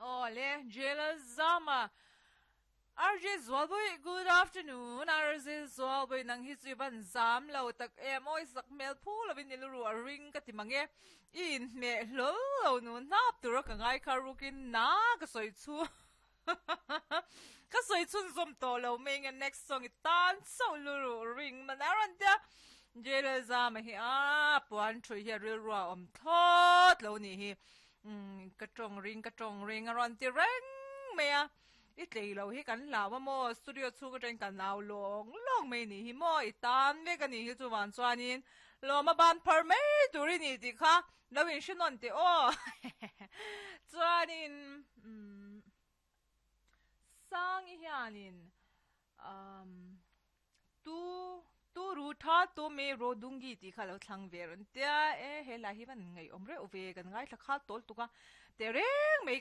Aw le, Jailer Zama, RJ Zualbawih, good afternoon, RJ Zualbawih nang hi chu i van zam lo tak em aw, i sak hmel phu lovin i luruh a ring ka ti mang e, i inhmeh hlawl lo nu hnap tura ka ngai kha rukin na ka sawi chu ka sawi chhunzawm tawh lo mai nge next song i tan chauh luruh ring man a rawn tia Jailer Zama hi a puan thui hi a rilru a awm thlawt lo nih hi. Umm ka tawng ring ka tawng ring a rawn ti reng mai a, i tlei lo hi kan hlau a maw studio chhung atangin kan au lawng lawng mai nih hi maw i tan vek a nih hi chuvang chuanin lawma ban phar mai tur i ni tih kha lo inhre nawn teh aw chuanin umm Sangi hianin umm Tu tu ru tha tu me ro dungi tih kha lo thlang ve rawn tia e he lai hi van ngaihawm reuh ve kan ngaithla khal tawl tuk a teh reng mai.